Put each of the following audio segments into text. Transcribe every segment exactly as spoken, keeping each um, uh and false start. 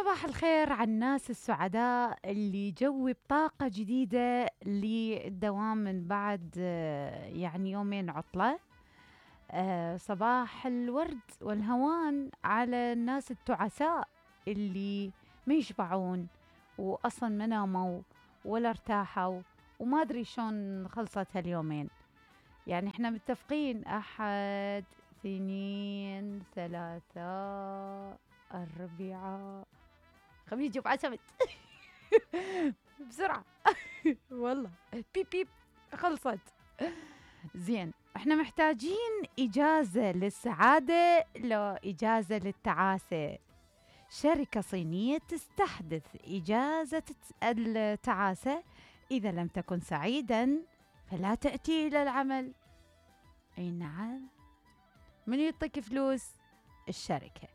صباح الخير على الناس السعداء اللي جوي بطاقة جديدة للدوام من بعد يعني يومين عطلة. صباح الورد والهوان على الناس التعساء اللي ما يشبعون وأصلا ما ناموا ولا ارتاحوا وما أدري شون خلصت هاليومين. يعني احنا متفقين أحد اثنين ثلاثة أربعة خميس جمعة سبت بسرعة والله بيب بيب خلصت. زين احنا محتاجين إجازة للسعادة لو إجازة للتعاسة. شركة صينية تستحدث إجازة التعاسة. إذا لم تكن سعيدا فلا تأتي إلى العمل. أي نعم، من يعطيك فلوس؟ الشركة.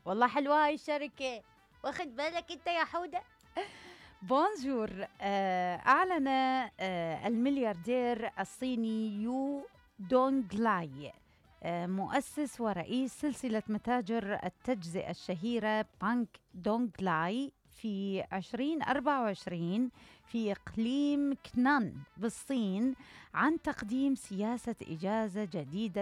والله حلوة هاي الشركة، واخد بالك انت يا حودة؟ بونجور. أعلن الملياردير الصيني يو دونغ لاي مؤسس ورئيس سلسلة متاجر التجزئة الشهيرة بانك دونغ لاي في عشرين أربعة وعشرين في إقليم كنان بالصين عن تقديم سياسة إجازة جديدة